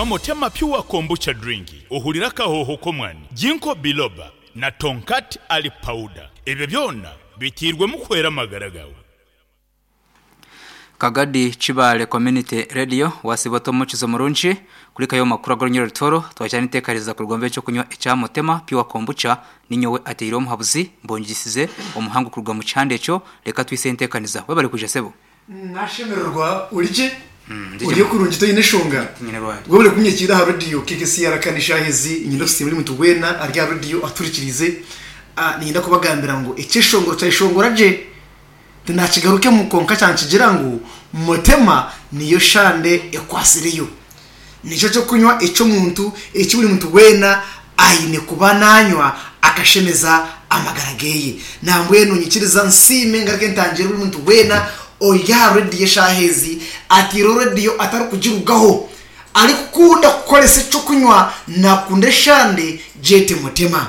Nywa Motema Pure Kombucha Drink ohurire akahooho k'omwani, Ginkgo Biloba na Tongkat Ali Powder. Ebyo byona biteirwemu kuhwera amagara gaawe. Kagadi Kibaale Community Radio wasiiba ota omukizo murungi kurikayo omu makuru ag'orunyoro rutoro twakira n'enteekaririza kuruga omu b'ekyokunywa ekya Mutema Pure Kombucha ninyowe ateire omuhabuzi mbongisize omuhangu kuruga omu kihanda ekyo reka twise enteekaniza webare kwija sebo. Nashemererwa ori gye? Ndi Ori gye. kurungi toine nshonga? Tinyine rwari. Webare kunyekiira aha rediyo KKCR kandi eshaaha ezi niinyenda kusiima buri muntu weena ari aha rediyo atuhurikiriize. Niinyenda kubagambira ngu ekyeshongoro kyayeshongora gye tinakigarukemu kwonka kyankigira ngu Mutema niyo shande ekwatsireyo. Nikyo ky'okunywa eky'omuntu eki buri muntu weena aine kuba nanywa akashemeza amagara geye. Nambwenu nyikiriza nsiime ngaruke ntangire buri muntu weena ori aha rediyo eshaaha ezi ateireho rediyo atarikugirugaho arikukunda kukoresa eky'okunywa nakunda eshande gyete Mutema.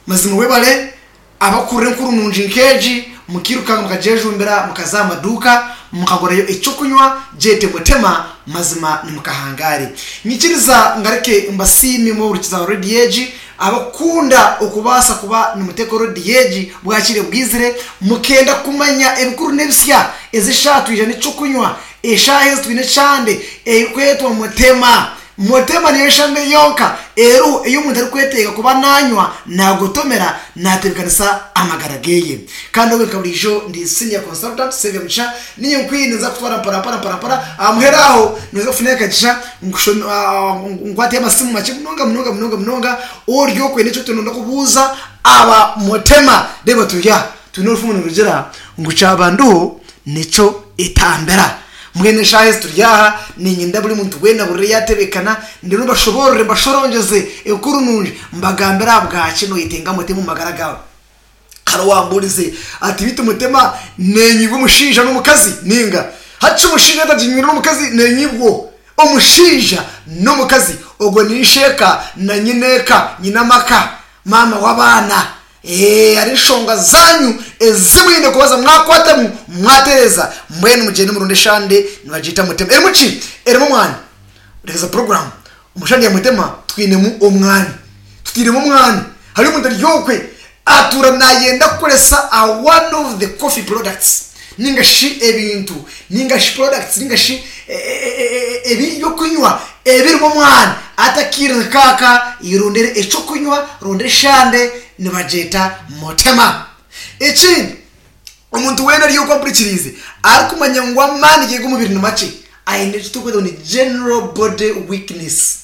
Mazima webare abakuhurira enkuru nungi nk'egi, mukiiruka mukagyejumbira mukaza aha maduuka mukagurayo eky'okunywa gyete Mutema, mazima nimukahangaare. Nyikiriza ngaruke mbasiime imwe abahurikiza rediyo egi, abakukunda okubaasa kuba nimuteeka rediyo egi bwakiire bwizire, mukenda kumanya ebikuru n'ebisya. Ezi eshaaha twija n'eky'okunywa, eshaaha ezi twine eshande erikwetwa Mutema. Mutema niyo nshame yonka eriho ei omuntu arikwetenga kuba nanywa, nagotomera, natebekanisa amagara geye. Kandi obwe nka buriijo ndi Senior Consultant Saviour Mugisha, ninye nkwine ninza kukutwara mpora mpora mpora mpora, aha muheru aho noza kufuna akagisha nkushome nkwateyo amasimu makye munonga munonga munonga munonga ori okwenda eki orikuba noyenda kubuuza aba Mutema. Reeba turi aha twine orufumu nirugira ngu kyabandiho nikyo etambira. Mbwenu eshaaha ezi turi aha, niinyenda buri muntu weena ahurire yaatebeekana, ndeebe mbashoboorore mbashorongyeze enkuru nungi, mbagambire ahabwaki nooyetenga Mutema omu magara gaawe. Hariho owaambuurize ati, Beitu Mutema neenyibwa omushaija n'omukazi nainga? Hati shi omushaija yaaba ataginywire n'omukazi neenyibwa? Omushaija n'omukazi, ogwo ni isheeka na nyineeka, nyina amaka, maama w'abaana. Ee, hariho enshonga zaanyu ezi mwine kubaza mwakwatamu mwatereeza. Mbwenu mugyende murunde eshande nibagyeta Mutema. Erimu ki? Erimu omwani. Reeza puroguraamu. Omu shande ya Mutema twinemu omwani. Tutairemu omwani. Hariyo omuntu ari okwe atuura naayenda kukoresa a one of the coffee products ninga shi ebintu ninga shi products ninga shi ebyokunywa ebirimu omwani atakiire nkaaka irondere ekyokunywa ronda eshande nibagyeta mutema. Ekindi omuntu weena ari okwo ampurikiriize arikumanya ngu amaani ge g'omubiri ni makye aine eki turikweta ngu ni general body weakness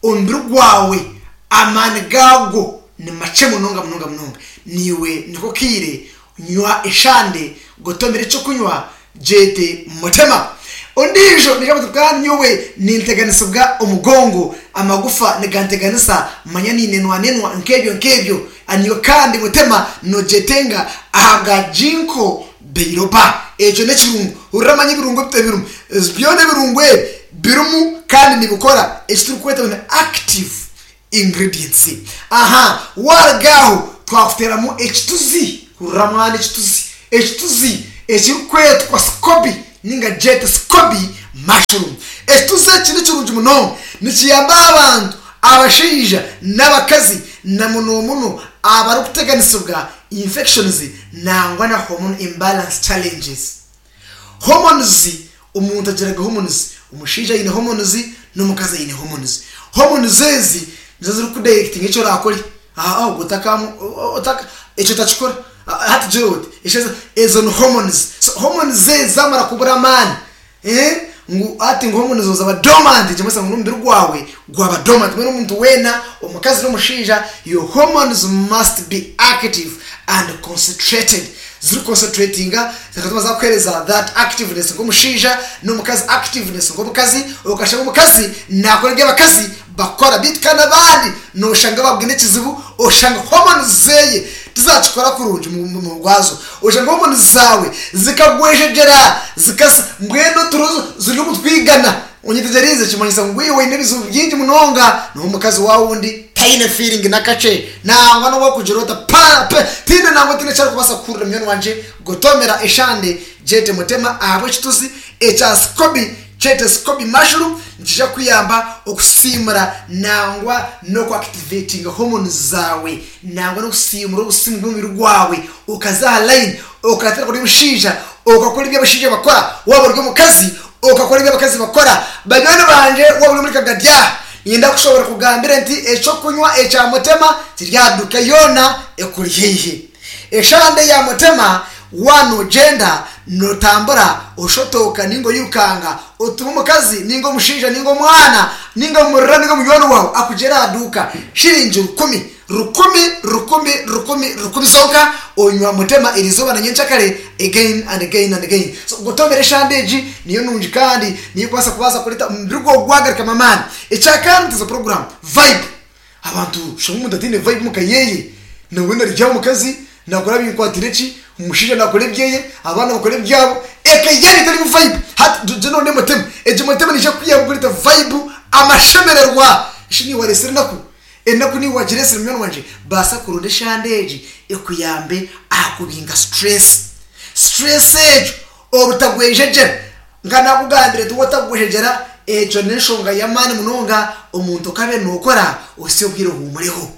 omubiri gwawe amaani gaagwo ni makye munonga munonga munonga naiwe niko kaire Nywa eshande, gotomera eky'okunywa, gyete mutema. Ondiijo naija kugira ati, Kandi nyowe ninteganisibwa omugongo, amagufa niganteganisa, manya ninenwanenwa nk'ebyo nk'ebyo. Naiwe kandi mutema nogyetenga ahabwa Ginkgo biloba. Ekyo n'ekirungo. Hurira manya ebirungo ebirimu. Byona ebirungo ebi birimu kandi nibikora eki turikweta ngu ni active Ingredients. Aha waruga aho twakuteramu ekituzi, hurira mwana ekituzi, ekituzi ekirikwetwa scoby ninga gyete scoby mushroom. Ekituzi eki nikirungi munonga, nikiyamba abantu abashaija n'abakazi na muno muno abarikuteganisibwa infections nangwa na hormone imbalance challenges. Hormones, omuntu agira ga hormones, omushaija aine hormones n'omukazi aine hormones. Hormones ezi nizo zirikudirectinga eki orakore, aha ogwo otaka ekyo otakikora, hati gira oti, ezo ni hormones. So hormones ezi zamara kubura amaani, ngu hati ngu hormones zawe zaba dormant nikimanyisa ngu n'omubiri gwawe gwaba dormant. Mbwenu omuntu weena omukazi n'omushaija your hormones must be active and concentrated. Ziri concentratinga zikatuma zakuhereza that activeness nk'omushaija n'omukazi activeness nk'omukazi okashanga omukazi nakora ebi abakazi bakora beitu kandi abandi noshanga babugine ekizibu oshanga hormones zeye tizakikora kurungi mu rwazo oshanga hormones zaawe zikagwejegyera zikasa mbwenu oturo ziri omu twigana Onyetegyereize? Kimanyisa ngu iwe oine ebizibu bingi munonga, n'omukazi waawe ondi taine feeling n'akakye. Nangwa n'obu orikugira ota pa pe tihaine nangwa tihaine eki arikubaasa kuhurira munywani wangye. Gotomera eshande gyete mutema ahabw'ekituzi ekya sikobi. Kyete scoby mushroom nikija kukuyamba okusiimura nangwa n'oku activatinga hormones zaawe nangwa n'okusiimura obusimu bw'omubiri gwawe okaza aha line okatandika ori omushaija okakora ebi abashaija bakora waaba ori omukazi okakora ebi abakazi bakora. Banywani bangye waaba ori omuri Kagadya niinyenda kushobora kugambira nti ekyokunywa ekya Mutema kiri aha duuka yoona ekuri haihi. Eshande ya Mutema Waaba noogyenda nootambura, oshotooka nainga oirukanga, otume omukazi nainga omushaija nainga omwana nainga omurira nainga munywani waawe akugyere aha duuka shiringi rukumi, rukumi, rukumi, rukumi, rukumi zonka onywa Mutema eriizooba na nyenkyakare again and again and again. So gotomera eshande egi niyo nungi kandi niyo ekubaasa kubaasa kureeta omubiri gwawe gwagarukamu amaani. Ekyakana nti ezo puroguraamu vibe. Abantu shanga omuntu ataine vibe omuka yeye nawe narya omukazi nakora binkwatire ki omushaija nakora ebyeye abaana bakora ebyabo eka yanyu etarimu vibe hati gye nonde mutemu egyo mutemu neija kukuyamba kureta vibe amashemererwa shi niiwe waresire enaku enaku niiwe wagiresire munywani wangye baasa kuronda eshande egi ekuyambe aha kubinga stress stress egyo Obutagwejegyera. Nka naakugambire nti waatagwejegyera, egyo n'enshonga y'amaani munonga omuntu okabe nookora ohitsye obwire ohuumureho,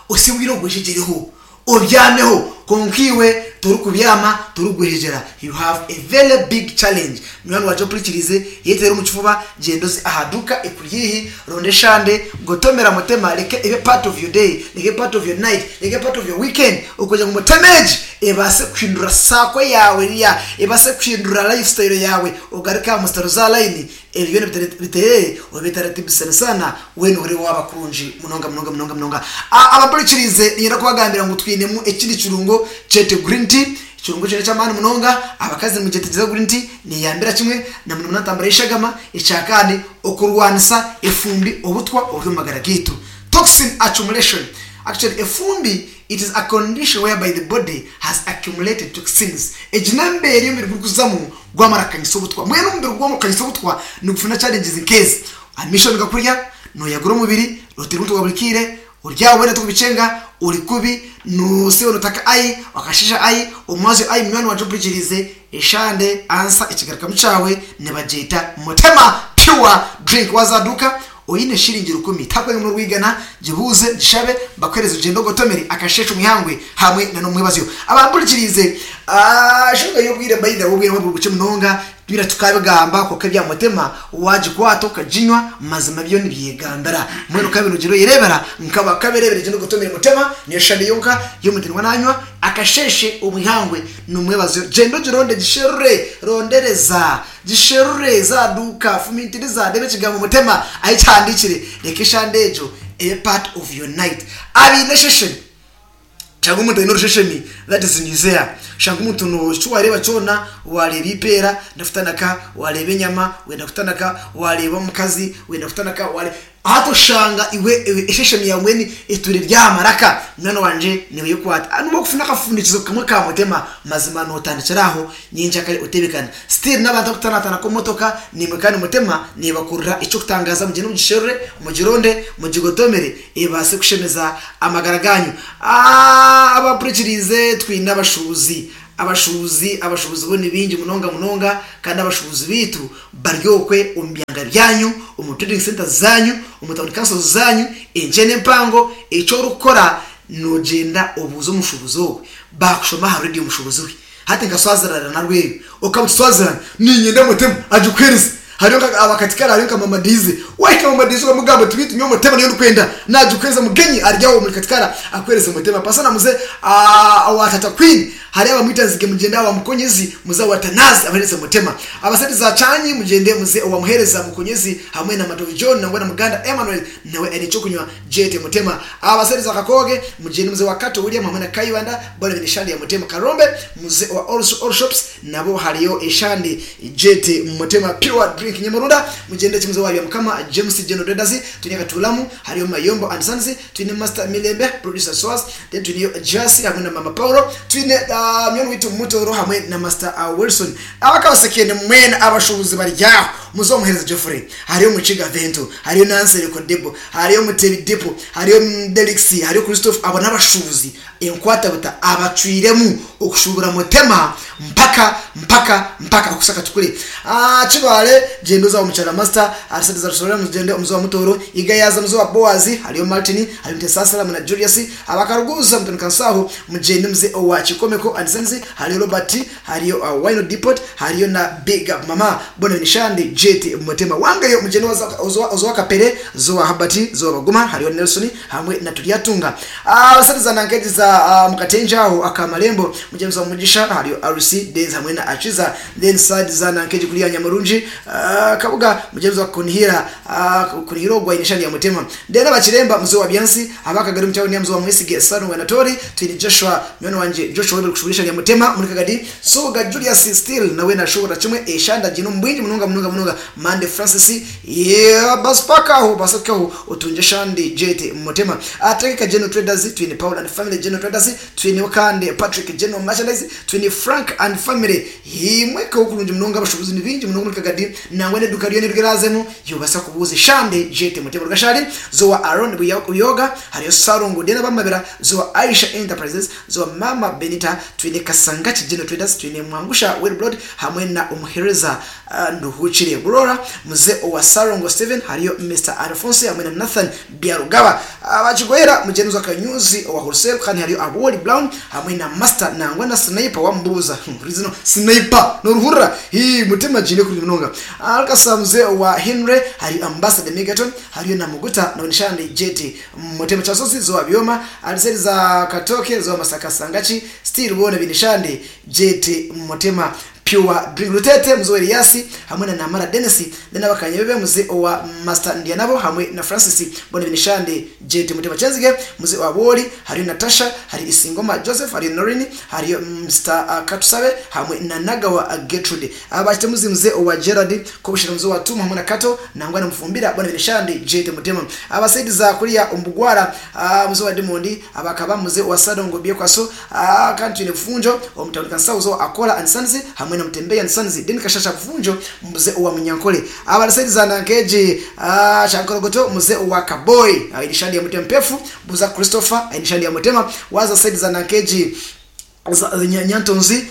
ohitsye obwire ogwejegyereho, obyameho kwonka iwe torikubyama, torikugwejegyera. You have a very big challenge. Munywani wangye ompurikiriize, yeteere omu kifuba, gyenda oze aha duuka ekuri haihi, ronda eshande, gotomera mutema, reka ebe part of your day, reka ebe part of your night, reka ebe part of your weekend okugira ngu mutema egi Ebaase kuhindura saako yaawe eriya, ebaase kuhindura lifestyle yaawe ogaruke aha musitari za layini, ebyo byona biteerere obitaratibu sana weena ohurire waaba kurungi munonga munonga munonga munonga. Abampurikiriize niinyenda kubagambira ngu twinemu ekindi kirungo kyete green tea, ekirungo ekyo n'eky'amaani munonga, abakazi nimugyetegyereza green tea neeyambira kimwe na muno muno aha ntambura y'eshagama, ekyakandi okurwanisa efumbi, obutwa oburi omu magara gaitu, toxin accumulation, actually efumbi It is a condition whereby the body has accumulated toxins. Egi n'embeera ei omubiri gurikuzamu gwamara kukanyisa obutwa. Mbwenu omubiri gwamara kukanyisa obutwa nigufuna challenges nk'ezi, amaisho nigakurya, noyagura omubiri, noteera omutwe gwa buri kaire, ori aho weena torikubikyenga, ori kubi, nosiiba notaka ai, wakasheesha ai, omwazyo ai munywani wangye ompurikiriize, eshande, ansa, ekigarukamu kyawe nibagyeta Mutema Pure Drink. Waaza aha duuka Oine shiringi rukumi, tihakubaire n'orwigana, gibuuze, gishabe, bakuheereze ogyende ogotomere akasheeshe omu ihangwe hamwe na n'omwebazyo. Abampurikiriize, enshonga y'obwire by the way obwire buri bukye munonga, twira tukabigamba kwonka ebya Mutema wagikwata okaginywa mazima byo nibyegambira. Mbwenu okabe nogyenda oyereebera nk'abakabereebera gyenda ogotomere Mutema niyo shande yonka y'omuntu niwe nanywa akasheeshe omu ihangwe n'omwebazyo. Gyenda ogironde gisherure, rondereza. Gisherure, za duuka, fumintiriza, reeba ekigambo mutema ahi kihandiikire, reka eshande egyo ebe part of your night. Abaine esheshemi, shanga omuntu aine orusheshemi, that is nausea, shanga omuntu no eki wareeba kyona, wareeba eipeera wenda kutanaka, wareeba enyama wenda kutanaka, wareeba omukazi wenda kutanaka, ware. Hati oshanga iwe esheshemi yaawe mbwenu etwire eri aha maraka, munywani wangye naiwe yekwate. Nobu okufuna akafundikizo kamwe ka mutema, mazima notandikira aho nyenkyakare otebekane. Still n'abantu abakutanatanaka omu motoka naimwe kandi mutema nebakurira eky'okutangaaza mugyende mugisherure, mugironde, mugigotomere ebaase kushemeza amagara ganyu. Abampurikiriize twine abashuubuzi, abashuubuzi, abashuubuzi bo ni baingi munonga munonga kandi abashuubuzi baitu bari okwe omu byanga byanyu, omu trading centres zanyu, omu town councils zanyu, enkye n'empango, eki orikukora nogyenda obuuze omushuubuzi ogwe, baakushoma aha radio omushuubuzi we. Hati nka Swaziland na Rweru, okaba oti Swaziland niinyenda mutemu agikuheereze. Hariyo nka abakatikara hariyo nka Mama Daisy, waahika Mama Daisy okamugamba oti beitu nyowe mutema niyo ndikwenda, naagikuheereza mugenyi ari aho omuri Katikara akuheereze mutema. Pastor muze owa Tata Queen. Hariho abamwita Nzige mugyende awa Mukonyezi muze awa Tanazi abahereza Mutema. Abasente za Kyanyi mugyende muze owa Muhereza Mukonyezi hamwe na Matovu John nangwa na Muganda Emmanuel nawe aine ekyokunywa Gyete Mutema. Abasente za Kakooge mugyende muze owa Kato William hamwe na Kayibanda boona baine eshande ya Mutema. Karombe muze owa All Shops nabo hariyo eshande Gyete Mutema. Pure Drink Nyamurunda mugyende ki muze owa Byamukama James General Traders twine Katuulamu hariyo Mayombo and Sons twine Master Mirembe Producer Swas Then twineyo Jasi hamwe na Mama Paulo, twine munywani waitu Mutoro hamwe na Master Wilson. Abakabasekende mwena abashuubuzi bari aho. Muze Omuheereza Geoffrey, hariyo Mukiga Vento, hariyo Nansereko Debo, hariyo Mutebi Depo, hariyo Delix, hariyo Christophe, abo n'abashuubuzi enkwatabuta abacwiremu okushuubura Mutema mpaka mpaka mpaka okuhitsya Katukure. Kibaale, gyenda oze aha Mukyara Master, ahari sente za Rusororo mugyende omuze wa Mutooro, Igayaza muze owa Boaz, hariyo Martin, hariyo Mutesaasira hamwe na Julius, Abakaruguuza mutandika Nsaaho, mugyende muze owa Kikomeko and Sons, hariyo Robert, Hariyo Wino Depot, hariyo na Big Up Mama, bona baine Shandi, Jet, Mutema Wangeyo, mugyende oza owa Kapere, zo owa Habert, zo owa Baguma, hariyo Nelson hamwe na Turyatunga. Sente za Nankegi za Mukatenje aho aka Marembo, mugyende oza Mugisha, hariyo RC, Days hamwe na Akiza, then side za Nankegi kuriya Nyamurungi, Kabuga, mugyende oza Kunihira, Kunihira ogwo aine Shandi ya Mutema. Then Abakiremba muze owa Byansi, aba Kagadi omu tauni muze owa Mwesige, Salongo Anatoli, Twine Joshua, Munywani wangye Joshua webare kushuubura eshanda ya Mutema omuri Kagadi. Soga Julius still nawe nashuubura kimwe eshanda agiine omu bwingi munonga munonga munonga. Mande Francis yeah, basi paka aho obase kuhikaho otungye eshandi Jet Mutema. Ategeka General Traders, twine Paul and Family General Traders, twineho kandi Patrick General Merchandise, twine Frank and Family. Hii mwekaho kurungi munonga abashuubuzi ni baingi munonga omuri Kagadi nangwa n'eduuka ryona eri oraazemu yobasa kubuuza eshande Jet Mutema. Rugashari zowa Aaron Buyoga, hariyo Salongo Dena Bamabira, zowa Aisha Enterprises, zowa Mama Benita, twine Kasangaki General Traders, twine Mwangusha Wilbrod hamwe na Omuhereza Nduhukire Burora, Mzee owa Salongo Steven, hariyo Mister Alphonse hamwe na Nathan Byarugaba. Abakigoyera Mugyenzi wa Kanyuzi owa Wholesale kandi hariyo Aboli Brown hamwe na Master nangwa na Sniper wamubuuza. Huriza Sniper noruhurira hii Mutima giine kurungi munonga. Alkasa Mzee owa Henry, hariyo Ambassador Megaton, hariyo na Muguta na Nshandi Jet Mutema Kyasozi zowa Byoma, Aliseri za Katoke zowa Masaka Sangaki still boona baine Shandi Jet Mutema Pure Drink Rutete muze owa Elias hamwe na Namara Denis then abakanyebebe muze owa Master Ndyanabo hamwe na Francis boona baine Shandi Jet Mutema Kyenzige muze owa Bwoli hariyo Natasha hariyo Isingoma Joseph hariyo Noreen hariyo Mister Katusabe hamwe na Nagawa Gertrude Abakitemuzi muze owa Gerald Kobushera muze owa Tumu hamwe na Kato nangwa na Mufumbira boona baine Shandi Jet Mutema Abasaidi za kuriya omu Bugwara muze owa Dimondi abakaba muze owa Sadongo Byekwaso kandi twine Bufunjo omu tawuni Kansauzo Akola and Sons hamwe na Mutembeya and Sons then Kashasha Bufunjo muze owa Munyankole Abasaidi za Nankeji Kyankorogoto muze owa Kaboyi aine Shandi ya Mutema Mpefu Buza Christopher aine Shandi ya Mutema waza saidi za Nankeji Nyantonzi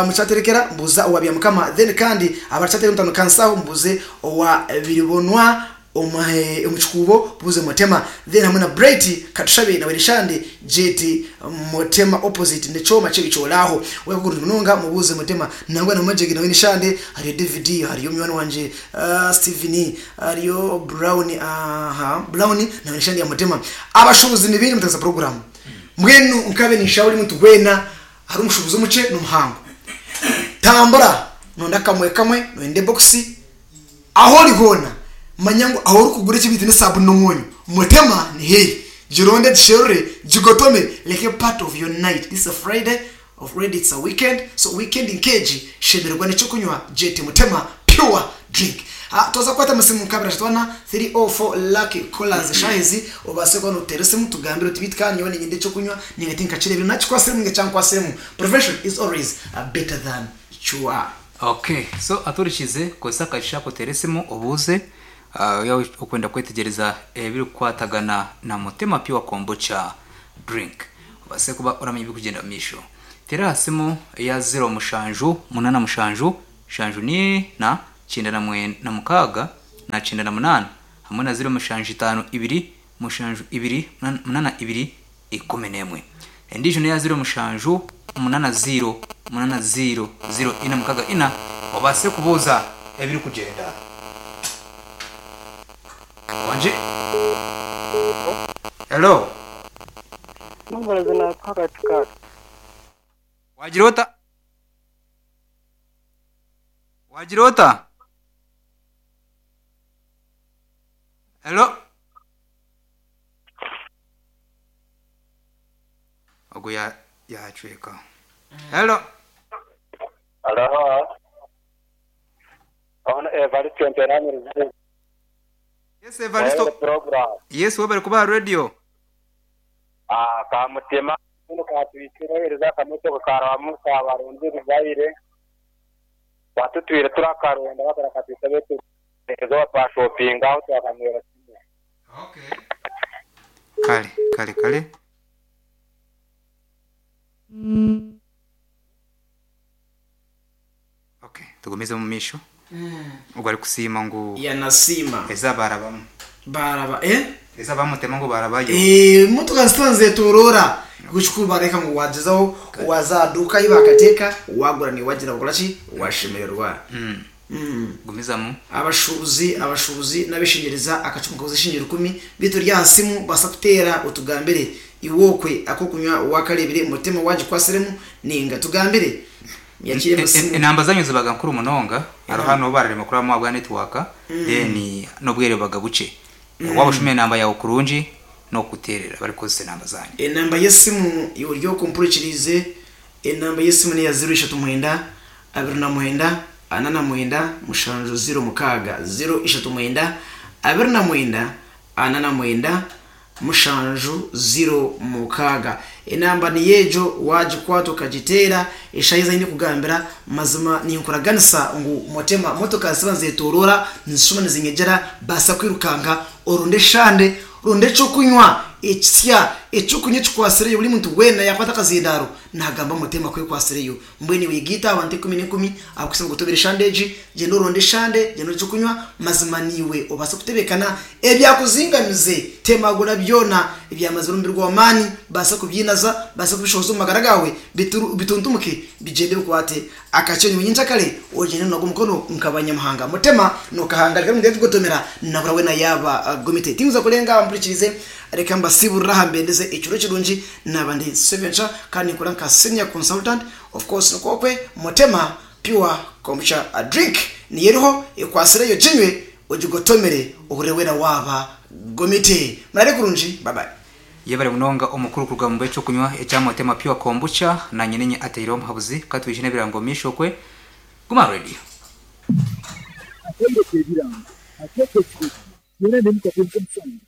mukyaterekera mbuza owa Byamukama then kandi abarikyaterekera omutauni Kansaho mbuze owa Biribonwa omu Kikuubo buze Mutema then hamwe na Bright Katushabe nawe Rishandi Jet Mutema opposite nekyoma kyebikyolaaho wekuguru munonga mubuze Mutema nangwa na Majege nawe Nishande hariyo David hariyo munywani wangye Steven hariyo Brown aha Brown nawe Nishande ya Mutema abashubuzi ni baingi mutagisa program Mbwenu nkabe ninshaba buri muntu weena ahari omushuubuzi omukye n'omuhango. Tambura noyenda kamwe kamwe, noyenda ebokisi, ahu ori hoona manya ngu ahu orikugura eki beitu n'esaabuni n'omwonyo. Mutema ni haihi. Gironde, gisherure, gigotome, reka ebe part of your night. This is a Friday, already it's a weekend, so weekend nk'egi shemererwa n'eky'okunywa Jet Mutema Pure Drink. Twaza kukwata amasimu nka abiri ashatu ana, 3 or 4 lucky callers eshaaha ezi obaase kuba notuteera esimu tugambire oti beitu kandi nyowe niinyenda eky'okunywa ninga tinkakireebire nakikwasiremu ninga kyankwatsiremu. Prevention is always better than cure. Ok so aturikize kozesa akagisha ako oteere esimu obuuze yaaba orikwenda kwetegyereza ebirikukwatagana na Mutema Pure Kombucha Drink obaase kuba oramanya ebirikugyenda omu maisho. Teera aha simu eya ziro mushanju munana mushanju Mushanju n'ina, kyenda na na mukaaga, na kyenda na munaana, hamwe na ziro mushanju itaano ibiri, mushanju ibiri, munaana ibiri, ikumi n'emwe. Endiijo n'eya ziro mushanju munana ziiro, munana ziiro, ziiro ina mukaaga ina, obaase kubuuza ebirikugyenda. Wangi? Hello? Waagira ota? Waagira ota? Hello? Ogwo ya yacweka. Hello? Halo. Ono Evaristo Nteranirize. Yes Evaristo. Program. Yes webare kuba aha radio. Ah, Kamutema kinu katuhikire akamotoka karabamu kabarungi ruzaire batutwire turakaronda bakarakatwisa betu. Eizooba twashopinga aho twakanywera kimwe. Kale kale kale. Okay, tugumizemu omu maisho. Ogwo arikusiima ngu Yanasiima. eza baarabamu. Baaraba eh? Eza bamutema ngu baarabayo. Eh, motoka zitaba nizetorora ekikuru bareka ngu wagyezaho waza aha duuka ahi bakateeka wagura niiwe wagira wakora ki washemererwa. Gumizamu. Abashuubuzi abashuubuzi n'abeshengyereza akacumu kaguza eshiringi rukumi beitu ori aha simu obaasa kuteera otugambire iwe okwe ak'okunywa wakareebire mutema wagikwasiremu ninga tugambire Nyakiire musimu. Enamba zanyu zibaga nkuru munonga hariho hanu obu bararema kurabamu ahabwa network then n'obwire bubaga bukye. Waaba oshoma enamba yaawe kurungi n'okukuteerera barikukozesa enamba zanyu. Enamba y'esimu iwe ori okwo ompurikiriize, enamba y'esimu n'eya ziro ishatu mwenda, abiri na mwenda, ana na mwenda, mushanju ziro mukaaga. Ziro ishatu mwenda, abiri na mwenda, ana na mwenda, mushanju ziro mukaaga. Enamba niyo egyo, waagikwata okagiteera, eshaaha ezi ahu ndikugambira, mazima ninkuraganisa ngu Mutema, motoka ziba nizetooroora, nizishuma nizinyegyera, baasa kwirukanga, oronde eshande, ronda eky'okunywa ekisya, eky'okunywa ekikwatsireyo buri muntu weena yaakwata akazindaaro naagamba Mutema ku ekwatsireyo. Mbwenu iwe gaita aha bantu enkumi n'enkumi abakuhitsya ngu eshande egi, gyenda oronde eshande, gyenda oronde eky'okunywa, mazima naiwe obaase kutebeekana ebyakuzingamize. Temagura byona ebyamazire omubiri gwawe amaani, baasa kubyinaza, baasa kubishohoza omu magara gaawe, bituntumuke bigyende bikwate akakye nyowe nyenkyakare ogyende nonaga omukono nk'abanyamahanga. Mutema nokahanga reka ngu kugotomera nabura weena yaaba gomite. Tinkuza kurenga aha mpurikirize reka mbasiiburire aha mbendeze ekiro kirungi naaba ndi Seventure kandi ninkora nka senior consultant of course nikwo okwe Mutema pure kombucha drink niyo eriho ekwatsireyo ginywe ogigotomere ohurire weena waaba gomite. Muraare kurungi bye bye. Yebare munonga omukuru kuruga omu bw'ekyokunywa ekya Motema Pure Kombucha nanye ninye ateireho omuhabuzi katwije n'ebirango omu maisho okwe Guma aha Radio. Akaire k'ebirango akeekekire, Twena n'emikago nk'omushana.